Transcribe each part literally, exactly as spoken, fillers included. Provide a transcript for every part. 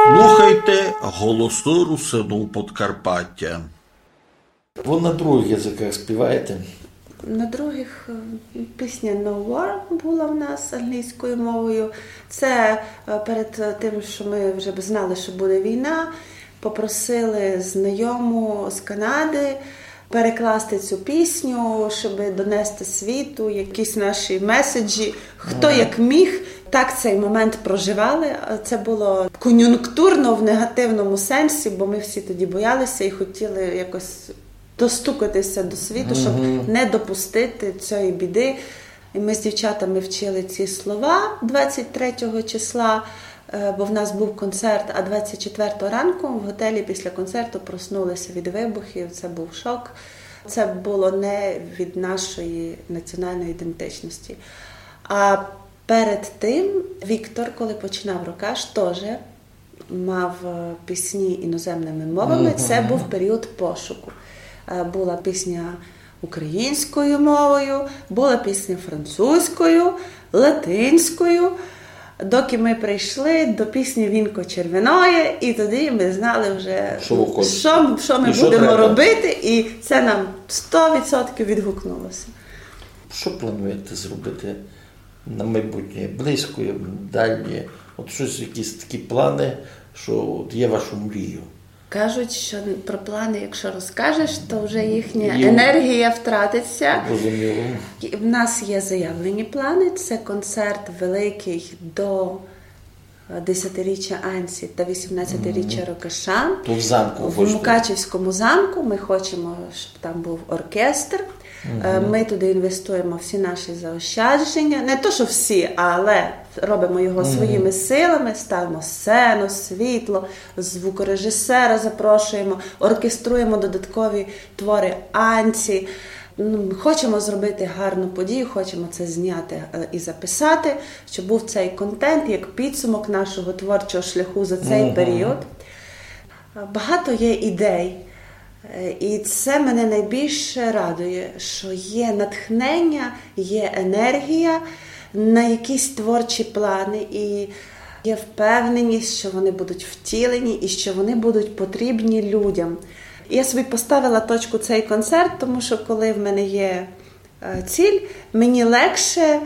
Слухайте Голосы Русинув Подкарпатя. Вы на другых языках співаєте? На других, е, пісня No War была в нас англійською мовою. Це, е, перед тим, що ми вже б знали, що буде війна, попросили знайому з Канади перекласти цю пісню, щоб донести світу якісь наші меседжі, хто як міг. Так цей момент проживали. Це було кон'юнктурно в негативному сенсі, бо ми всі тоді боялися і хотіли якось достукатися до світу, щоб не допустити цієї біди. І ми з дівчатами вчили ці слова двадцять третього числа, е, бо в нас був концерт, а двадцять четвертого ранку в готелі після концерту проснулися від вибухів. Це був шок. Це було не від нашої національної ідентичності. А перед тим Віктор, коли починав Рокаш, теж мав, е, пісні іноземними мовами. Це був період пошуку. Е, була пісня українською мовою, була пісня французькою, латинською. Доки ми прийшли до пісні «Вінко червеноє», і тоді ми знали вже, що, що ми будемо робити, і це нам сто відсотків відгукнулося. Що плануєте зробити на майбутнє, близьке, дальнє? От щось, якісь такі плани, що от є вашу мрію? Кажуть, що про плани, якщо розкажеш, то вже їхня енергія втратиться. Розуміло. І в нас є заявлені плани. Це концерт великий до, е, десятиріччя Анці та вісімнадцятиріччя Рокаша. То в замку в Мукачівському замку. Ми хочемо, щоб там був оркестр. Е, ми туди інвестуємо всі наші заощадження. Не то, що всі, але робимо його своїми силами, ставимо сцену, світло, звукорежисера запрошуємо, оркеструємо додаткові твори Анці. М, хочемо зробити гарну подію, хочемо це зняти, е, і записати, щоб був цей контент як підсумок нашого творчого шляху за цей період. Багато є ідей, е, і це мене найбільше радує, що є натхнення, є енергія на якісь творчі плани, і є впевненість, що вони будуть втілені і що вони будуть потрібні людям. Я собі поставила точку цей концерт, тому що коли в мене є е, ціль, мені легше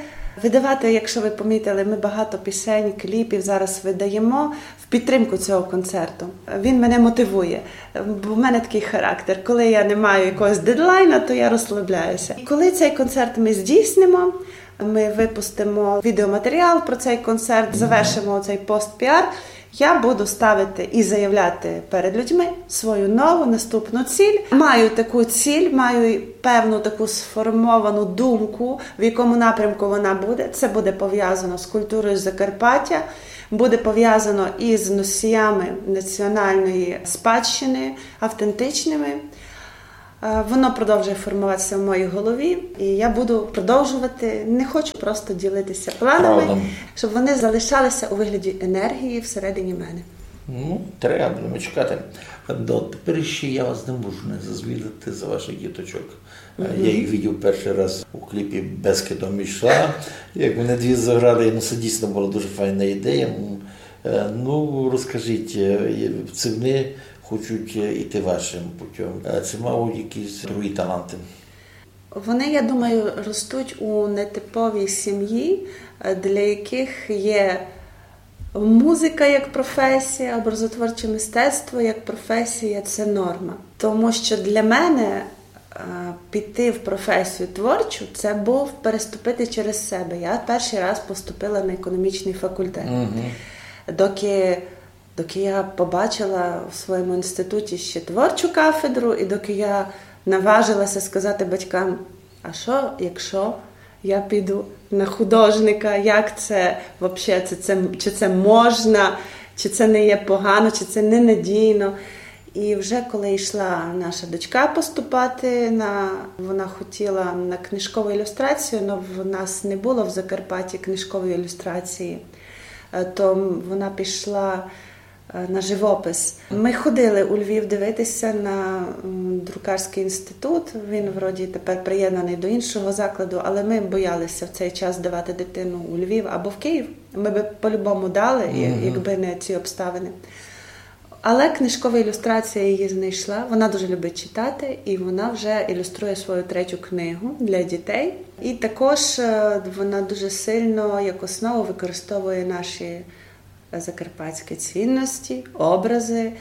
видавати, якщо ви помітили, ми багато пісень, кліпів зараз видаємо в підтримку цього концерту. Він мене мотивує, бо в мене такий характер. Коли я не маю якогось дедлайна, то я розслабляюся. І коли цей концерт ми здійснимо, ми випустимо відеоматеріал про цей концерт, завершимо цей пост-піар. Я буду ставити і заявляти перед людьми свою нову наступну ціль. Маю таку ціль, маю певну таку сформовану думку, в якому напрямку вона буде. Це буде пов'язано з культурою Закарпаття, буде пов'язано із носіями національної спадщини, автентичними. Е, воно продовжує формуватися в моїй голові, і я буду продовжувати. Не хочу просто ділитися планами, щоб вони залишалися у вигляді енергії всередині мене. Ну, треба, будемо чекати. До тепер ще я вас не можу не зазвідати за ваших діточок. Е, я їх видів перший раз у кліпі «Бескидом йшла». Як вони дві заграли, ну, це дійсно була дуже файна ідея. М, е, ну, розкажіть, е, чи вони хочуть, е, іти вашим путем? Е, чи мав якісь другі таланти? Вони, я думаю, ростуть у нетиповій сім'ї, е, для яких є музика як професія, образотворче мистецтво як професія — це норма. Тому що для мене, е, піти в професію творчу — це був переступити через себе. Я перший раз поступила на економічний факультет. Доки, доки я побачила в своєму інституті ще творчу кафедру, і доки я наважилася сказати батькам: «А що, якщо я піду на художника? Як це вообще? Це, це, чи це можна, чи це не є погано, чи це ненадійно?» І вже коли йшла наша дочка поступати, на, вона хотіла на книжкову ілюстрацію, але в нас не було в Закарпатті книжкової ілюстрації. Е, то вона пішла е, на живопис. Ми ходили у Львів дивитися на, м, друкарський інститут. Він вроді тепер приєднаний до іншого закладу, але ми боялися в цей час давати дитину у Львів або в Київ. Ми би по-любому дали, я- Мгм. якби не ці обставини. Але книжкова ілюстрація її знайшла. Вона дуже любить читати, і вона вже ілюструє свою третю книгу для дітей. І також, е, вона дуже сильно як основу використовує наші закарпатські цінності, образи.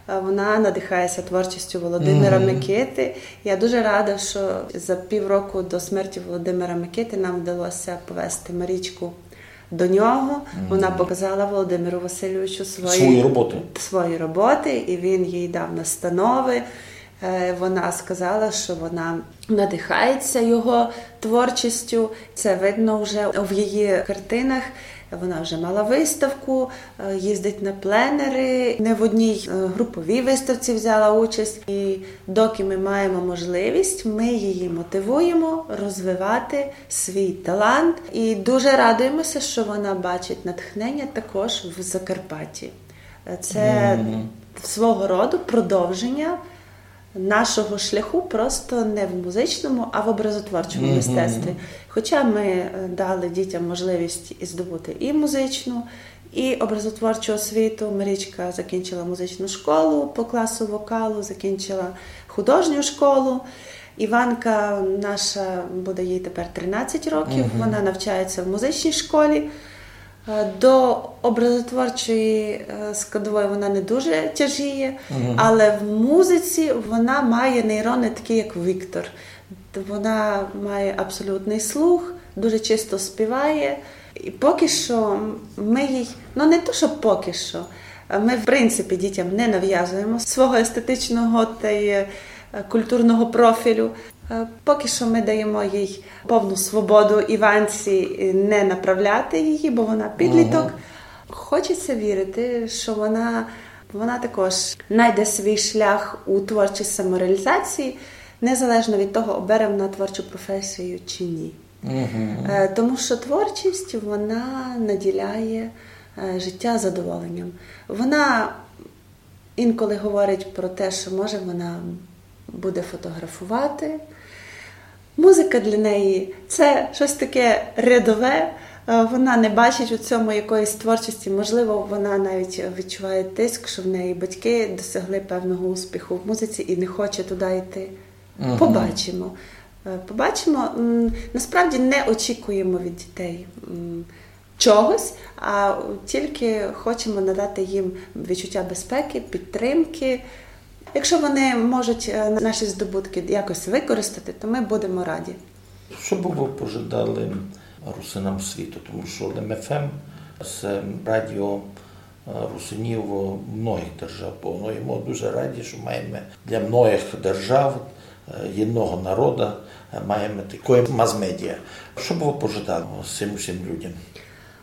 Е, вона надихається творчістю Володимира Мгм. Микити. Я дуже рада, що за півроку до смерті Володимира Микити нам вдалося повезти Марічку до нього. Вона Мгм. показала Володимиру Васильовичу свої, Свої роботи. свої роботи, і він їй дав настанови. Е, вона сказала, що вона надихається його творчістю. Це видно вже в її картинах. Вона вже мала виставку, е, їздить на пленери, не в одній, е, груповій виставці взяла участь. І доки ми маємо можливість, ми її мотивуємо розвивати свій талант. І дуже радуємося, що вона бачить натхнення також в Закарпатті. Е, це Мгм. свого роду продовження нашого шляху, просто не в музичному, а в образотворчому Мгм. мистецтві. Хоча ми, е, дали дітям можливість і здобути і музичну, і образотворчу освіту. Марічка закінчила музичну школу по класу вокалу, закінчила художню школу. Іванка наша, буде їй тепер тринадцять років, Мгм. вона навчається в музичній школі. Е, до образотворчої, е, складової вона не дуже тяжіє, Мгм. але в музиці вона має нейрони такі, як Віктор. Вона має абсолютний слух, дуже чисто співає. І поки що ми їй, ну, не то, що поки що, а ми, в принципі, дітям не нав'язуємо свого естетичного та й, е, культурного профілю. Е, поки що ми даємо їй повну свободу Іванці, е, не направляти її, бо вона підліток. Мгм. Хочеться вірити, що вона, вона також знайде свій шлях у творчій самореалізації, незалежно від того, обере вона творчу професію чи ні. Мгм. Е, тому що творчість, вона наділяє, е, життя задоволенням. Вона інколи говорить про те, що, може, вона буде фотографувати. Музика для неї — це щось таке рядове. Е, вона не бачить у цьому якоїсь творчості. Можливо, вона навіть відчуває тиск, що в неї батьки досягли певного успіху в музиці і не хоче туди йти. Мгм. Побачимо. Е, побачимо. М, насправді не очікуємо від дітей, м, чогось, а тільки хочемо надати їм відчуття безпеки, підтримки. Якщо вони можуть, е, наші здобутки якось використати, то ми будемо раді. Што бы вы пожадали русинам світу? Тому што Лем ФМ — се радіо, е, русинів многих держав, бо, ну, і мы дуже раді, што маєме для многих держав, е, єдного народа, е, маєме такоє мас-медіа. Што бы вы пожадали сим усім людям?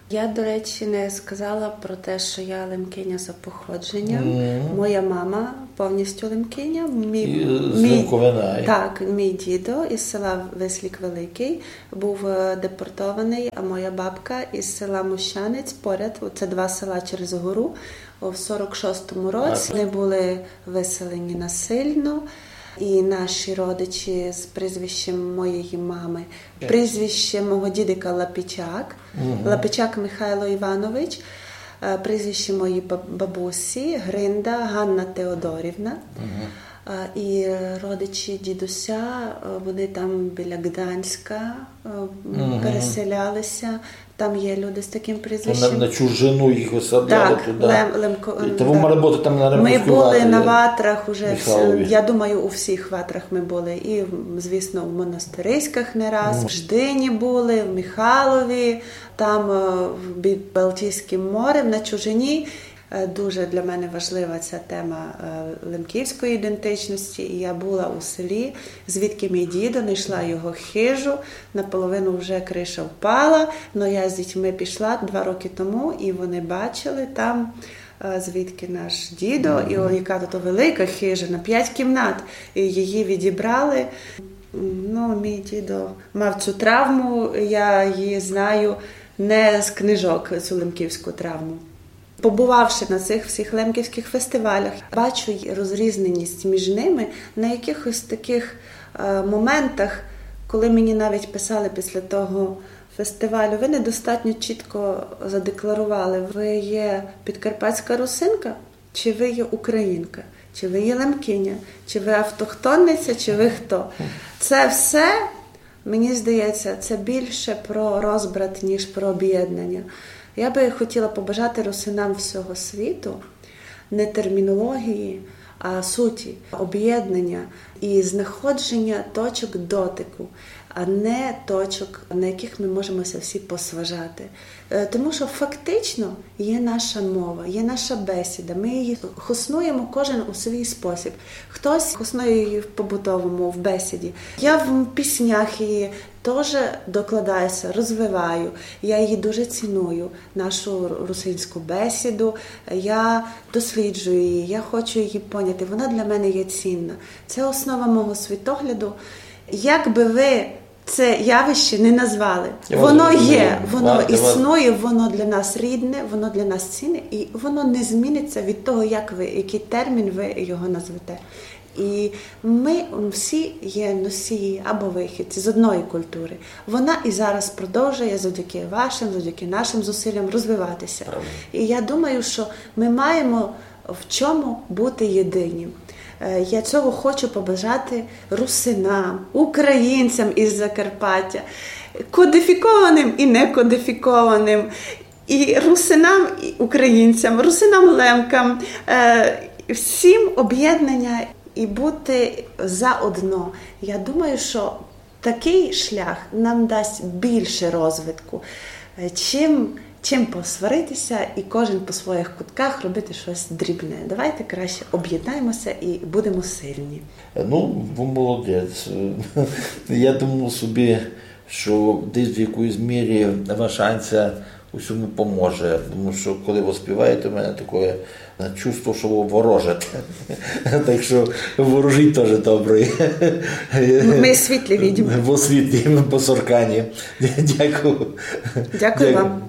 Я, до речі, не сказала про те, що я лемкиня за походженням. Мгм. Моя мама повністю лемкиня. Мій, І з мій, Лемковина, ай? Так, мій дідо із села Вислік Великий був, е, депортований, а моя бабка із села Мощанець поряд, це два села через гору, в сорок шостому році. Ага. Вони були виселені насильно. І наші родичі з прізвищем моєї мами, прізвище мого дідика Лапічак, Мгм. Лапічак Михайло Іванович, е, прізвище моєї баб-, бабусі Гринда Ганна Теодорівна. Мгм. Е, і родичі дідуся, е, вони там біля Гданська, е, Мгм. переселялися. Там є люди з таким прізвищем. То на, на чужину їх висадляли туди. Так, Лем-, Лемко-, І то ви мали бути там на Лемковській ватрі, Михайлові. Ми були на ватрах уже, я думаю, у всіх ватрах ми були. І, звісно, в Монастириськах не раз, в Ждині були, в Михайлові, там, е, в, під Балтійським морем, на чужині. Е, дуже для мене важлива ця тема, е, лемківської ідентичності. І я була у селі, звідки мій дідо, знайшла його хижу, наполовину вже криша впала, но я з дітьми пішла два роки тому, і вони бачили там, е, звідки наш дідо, і о, яка тут велика хижа на п'ять кімнат, і її відібрали. Ну, мій дідо мав цю травму, я її знаю не з книжок, цю лемківську травму. Побувавши на цих всіх лемківських фестивалях, бачу й розрізненість між ними на якихось таких е, моментах, коли мені навіть писали після того фестивалю: ви недостатньо чітко задекларували, ви є підкарпатська русинка, чи ви є українка, чи ви є лемкиня, чи ви автохтонниця, чи ви хто. Це все, мені здається, це більше про розбрат, ніж про об'єднання. Я би хотіла побажати русинам всього світу не термінології, а суті, об'єднання і знаходження точок дотику, а не точок, на яких ми можемо ся всі посважати. Е, тому що фактично є наша мова, є наша бесіда. Ми її хоснуємо кожен у свій спосіб. Хтось хоснує її в побутовому, в бесіді. Я в піснях її теж докладаюся, розвиваю. Я її дуже ціную, нашу русинську бесіду. Я досліджую її, я хочу її поняти. Вона для мене є цінна. Це основа мого світогляду. Як би ви це явище не назвали, воно є, воно існує, воно для нас рідне, воно для нас цінне, і воно не зміниться від того, як ви, який термін ви його назвете. І ми всі є носії або вихідці з одної культури. Вона і зараз продовжує завдяки вашим, завдяки нашим зусиллям розвиватися. І я думаю, що ми маємо в чому бути єдині. Е, я цього хочу побажати русинам, українцям із Закарпаття, кодифікованим і некодифікованим, і русинам, і українцям, русинам лемкам, е, всім об'єднання і бути заодно. Я думаю, що такий шлях нам дасть більше розвитку, е, чим, чим посваритися і кожен по своїх кутках робити щось дрібне. Давайте краще об'єднаємося і будемо сильні. Ну, ви молодець. Я думав собі, що десь в якоїсь мірі ваша Анця у цьому поможе. Тому що коли ви співаєте, у мене таке чувство, що ви ворожите. Так що ворожіть теж добре. Ми світлі видимо. Бо світлі, по соркані. Дякую. Дякую вам.